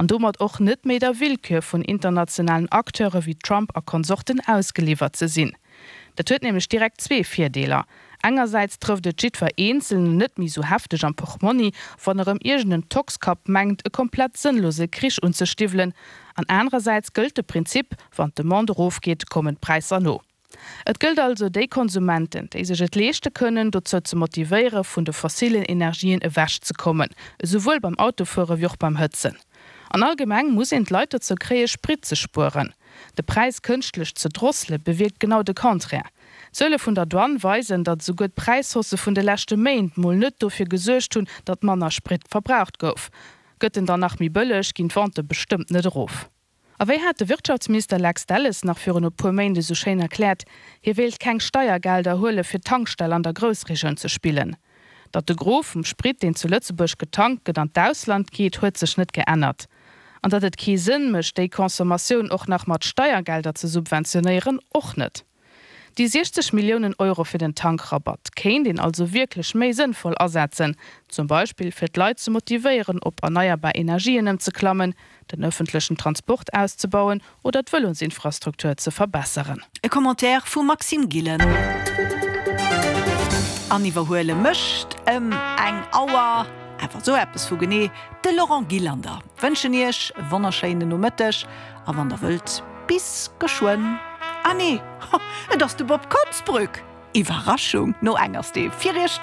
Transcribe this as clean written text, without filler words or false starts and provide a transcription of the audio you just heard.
An domat och net méi der Willkür vun internationalen Acteure wéi Trump a Konsorten ausgeliwwert ze sinn. Dat huet nämlech direkt zwee Virdeeler, Engersäits trëfft et jiddwer Eenzelnen net méi sou hefteg am Portmonni, wann erëm iergend en Toxkapp mengt, e komplett sënnlose Krich unzestiwwelen, an anerersäits gëllt de Prinzip, wann d'Demande erofgeet, kommen d'Präisser no. Et gëllt also, déi Konsumenten, déi sech et leeschte kënnen, dozou ze motivéiere vun de fossilen Energien ewech ze kommen, esouwuel beim Autofuere wéi och beim Hëtzen. An allgemeng muss een d'Leit dozou kréie Sprit ze spueren. De Präis kënschtlech ze drossele bewierkt genau de Contraire. D'Zuele vun der Douane weisen, datt esouguer d'Präishausse vun de leschte Méint mol net dofir gesuergt hunn, datt manner Sprit verbraucht gouf. Gëtt en dann nach méi bëlleg, ginn d'Vente bestëmmt net erof. A wéi hat de Wirtschaftsminister Lex Delles nach virun e puer Méint esou schéin erkläert, hie wéilt keng Steiergelder huele fir d'Tankstell an der Groussregioun ze spillen. Datt de Gros vum Sprit, deen zu Lëtzebuerg getankt gëtt, an d'Ausland geet, huet sech net geännert. An datt et kee Sënn mécht, déi Consommatioun och nach mat Steiergelder ze subventionéieren, och net. Déi 60 Milliounen Euro fir den Tankrabatt kéint een also wierklech méi sënnvoll asetzen, zum Beispill fir d'Leit ze motivéieren op erneierbar Energien ëmzeklammen, den ëffentlechen Transport auszebauen oder d'Vëlosinfrastruktur ze verbesseren. E Commentaire vum Maxime Gillen. An iwwerhuele mécht ëm eng Auer, awer esou eppes vu genee, de Laurent Gillander. Wënschen Iech e wonnerschéinen Nomëtteg a wann der wëllt, bis geschwënn. Ah nee, et ass de Bob Konsbrück! Iwwerraschung! No eng ass dee fir Iech do.